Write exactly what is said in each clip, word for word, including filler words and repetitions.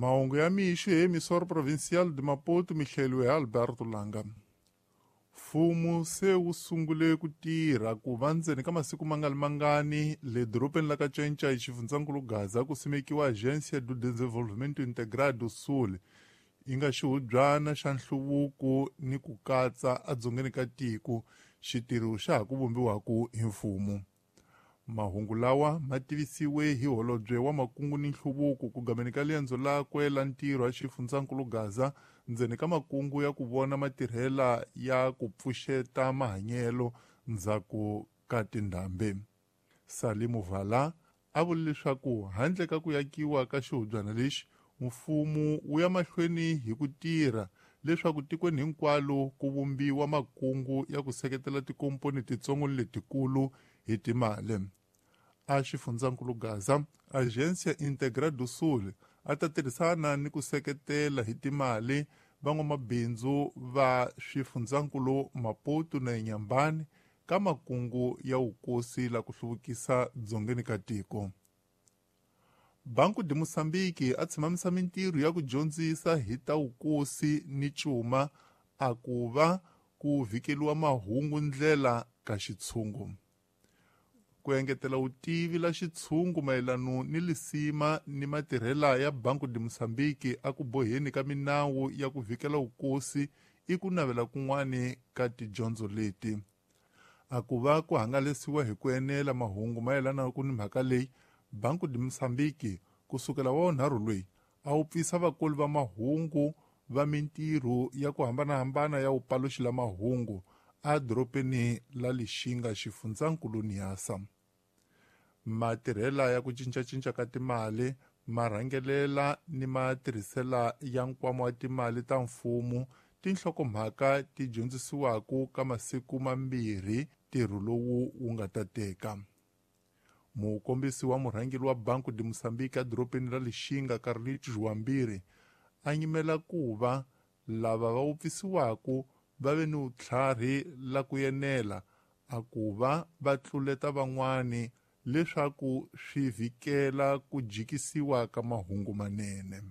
Mahungu ya mixo hi Emissora Provincial de Maputo mi hleliwe hi Alberto Langa. Mfumo se wu sungule ku tirha ku va ndzeni ka masiku mangani mangani le dorobeni la ka Cinca hi xifundzankulu Gaza ku simekiwa Agência do Desenvolvimento Integrado do Sul yi nga xihubyana xa nhluvuko ni ku katsa edzongeni ka tiko xitirho xa ha ku vumbiwaka hi mfumo. Mahungu lawa ma tivisiwe hi holobye wa makungu ni nhluvuko ku gameni ka liendzo lakwe la ntirho a xifundzankulu Gaza ndzeni ka makungu ya ku vona matirhela ya ku pfuxeta mahanyelo ndzhaku ka tindhambi. Salimu Vala a vule leswaku handle ka ku yakiwa ka xihubyana lexi mfumo wu ya mahlweni hi ku tirha leswaku tikweni hinkwalo ku vumbiwa makungu ya ku seketela tikomponi titsongo ni letikulu hi timali. A xifundzankulu Gaza, Agência Integrada do Sul a ta tirhisana ni ku seketela hi timali van'wamabindzu va swifundzankulu Maputo na Inhambane ka makungu ya vukosi la ku hluvukisa dzongeni ka tiko. Banco de Moçambique a tshimamisa mintirho ya ku dyondzisa hi ta vukosi ni cuma a ku va ku vhikeliwa mahungu ndlela ka xitshungu. Ku engetela vutivi la xitshungu mayelano ni lisima ni matirhela ya Banco de Moçambique a ku boheni ka minawu ya ku vhikela vukosi i ku navela kun'wani ka tidyondzo leti. A ku va ku hangalasiwa hi ku enela mahungu mayelana ku ni mhaka leyi Banco de Moçambique kusukela wa nharhu loyi a wu pfisa vakoli va mahungu va mintirho ya ku hambanahambana ya vupaluxi la mahungu a dorobeni la Lixinga xifundzankulu Niassa. Matirhela ya ku cincacinca ka timali marhangelela ni matirhisela ya nkwama wa timali ta mfumo tinhlokomhaka ti dyondzisiwaka ka masiku mambirhi ntirho lowu wu nga ta teka. Mukombisi wa murhangeri wa Banco de Moçambique edorobeni ra Lixinga Carlitos Joambiri a nyimela ku va lava va wupfisiwaka va ve ni vutlhari la ku enela a ku va va tluleta van'wani leswaku swi vhikela ku jikisiwa ka mahungu manene.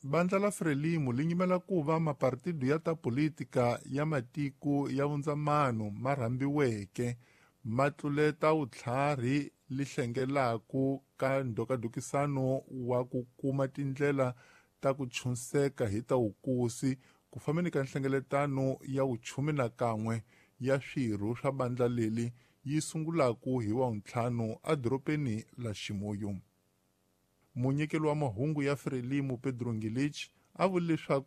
Bandla la Frelimo li nyimela ku va mapartido ya ta politika ya matiko ya vundzamano ma rhambiweke ma tluleta vutlhari li hlengelaku ka ndhokadhokisano wa ku kuma tindlela ta ku chunseka hi ta vukosi ku fambeni ka nhlengeletano ya vuchumi na kan'we ya swirho swa bandla leli yi sungulaku hi wa ntlhanu edorobeni la Chimoio. Munyikeli wa mahungu ya Frelimo Pedro Ngilich a vule leswaku